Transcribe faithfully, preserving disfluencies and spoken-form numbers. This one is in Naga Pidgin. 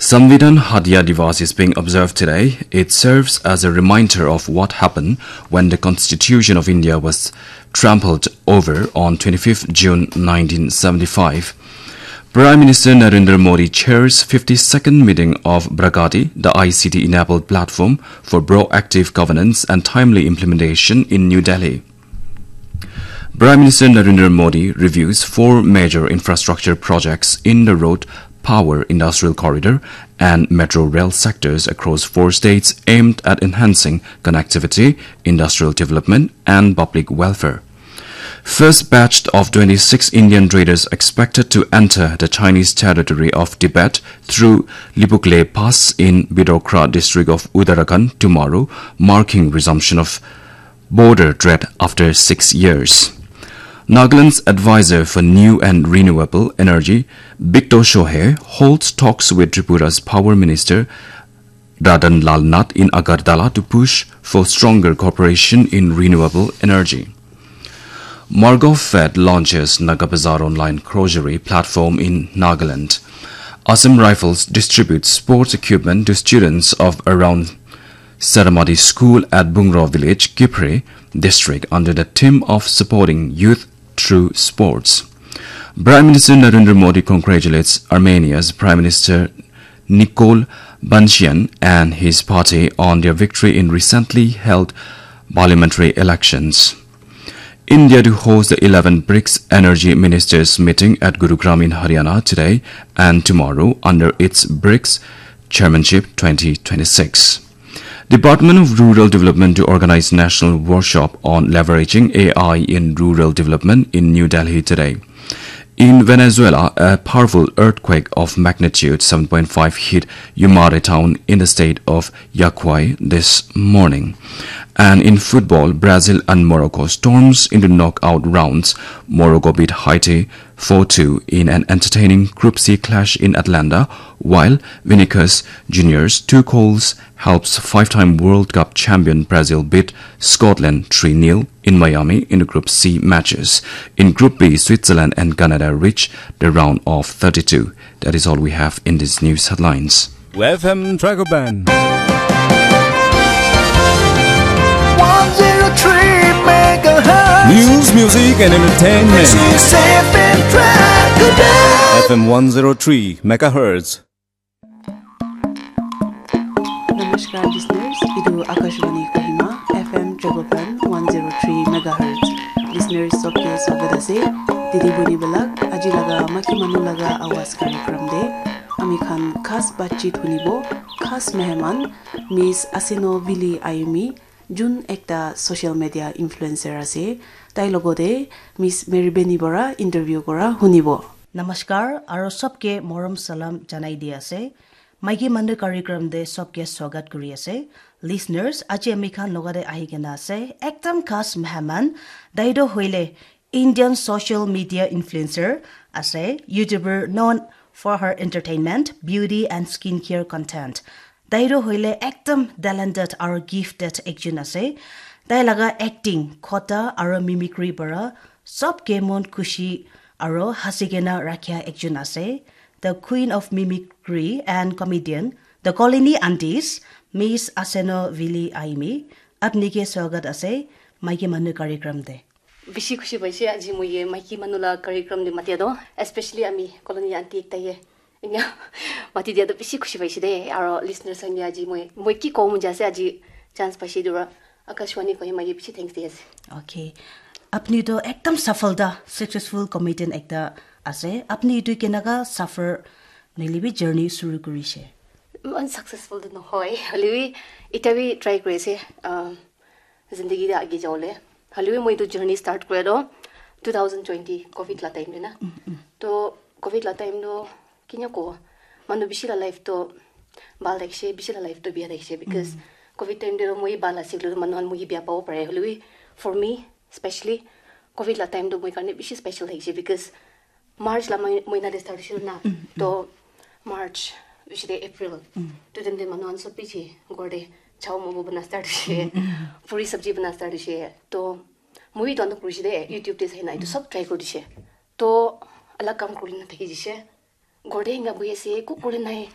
Samvidhan Hatia Divas is being observed today. It serves as a reminder of what happened when the Constitution of India was trampled over on twenty-fifth June nineteen seventy-five. Prime Minister Narendra Modi chairs fifty-second meeting of Pragati, the I C T-enabled platform for proactive governance and timely implementation, in New Delhi. Prime Minister Narendra Modi reviews four major infrastructure projects in the road, power, industrial corridor, and metro rail sectors across four states aimed at enhancing connectivity, industrial development, and public welfare. First batch of twenty-six Indian traders expected to enter the Chinese territory of Tibet through Libukle Pass in Bidokra district of Uttarakhand tomorrow, marking resumption of border trade after six years. Nagaland's advisor for new and renewable energy, Bikto Shohei, holds talks with Tripura's Power Minister Ratanlal Nath in Agartala to push for stronger cooperation in renewable energy. Margo Fed launches Naga Bazaar online grocery platform in Nagaland. Assam Rifles distributes sports equipment to students of around Saramati School at Bungro Village, Kiphire District, under the theme of supporting youth through sports. Prime Minister Narendra Modi congratulates Armenia's Prime Minister Nikol Pashinyan and his party on their victory in recently held parliamentary elections. India to host the eleventh BRICS Energy Ministers meeting at Gurugram in Haryana today and tomorrow under its BRICS Chairmanship twenty twenty-six. Department of Rural Development to organize national workshop on leveraging A I in rural development in New Delhi today. In Venezuela, a powerful earthquake of magnitude seven point five hit Yumare town in the state of Yaquay this morning. And in football, Brazil and Morocco storms into knockout rounds. Morocco beat Haiti four two in an entertaining Group C clash in Atlanta, while Vinicius Junior's two goals helps five-time World Cup champion Brazil beat Scotland three nil in Miami in the Group C matches. In Group B, Switzerland and Canada reach the round of thirty-two. That is all we have in these news headlines. F M Dragoban. One zero three megahertz. News, music, and entertainment. This is F M Dragoban. F M one zero three megahertz. Namaskar listeners, etu Akashvani Kohima, F M Dragoban one zero three megahertz. Listeners sobke swagat ase. Didi buni belak, aji laga maki manu laga awaz karikram de ami khan khas batchit hunibo, khas meheman Miss Aseno Vili Ayumi, jun ekta social media influencer ase. Tai logote Miss Mary Beni Bora interview kora hunibo. Namaskar, aro sobke morom salam janai di ase. Maiki manu karikram de sobke swagat kuri ase. Listeners, aji ami khan logate ahi kena ase ekdam khas meheman, tai toh hoile Indian social media influencer ase, YouTuber known for her entertainment, beauty and skincare content. Tai toh hoile ekdam talented aro gifted ekjun ase. Tai laga acting, khota aro mimicry para sobke mon khushi aro hasi kena rakhia ekjun ase. The Queen of Mimicry and Comedian, the Colony Aunties, Miss Aseno Vili Ayumi, apni ke swagat ase, maiki manu karikram de. Bishi khushi paise aji moi ye maiki manu la karikram de matia do, especially ami Colony Aunty ekta ye. Inya mati dia do bishi khushi paise de, aro listeners khan ye aji moi, moi ki kobo mon jai ase aji chance paise dura. Akashvani Kohima ke bishi thanks di ase. Okay. Apni to ekdam safalta, successful comedian ekta ase. Apni etu kenaga suffer nohoile bi journey shuru kurishe? Iman successful to nohoi. Hoile bi eta bi try kuri ase. Um, zindagi de age jawole. Hoile bi moi etu journey start kura to two thousand twenty covid la time de na. To covid la time to kinya ko manu bishi la life to bhal thakishe, bishi la life to bia thakishe because covid time te to moi bhal ase koile manu khan moi bia pabo pare. Hoile bi for me specially covid la time to moi karne bishi special thakishe because March la moi- moina te start hoishe na. To March bishi te April to time te manu khan sob bishi ghor te chow momo bana start hoishe, puri sabji bana start hoishe. To moi to anok kurishe de YouTube te sai na etu sob try kuri dishe. To alag kam kuri na thaki dishe. Ghor te enga bohi ase, eku kuri nai.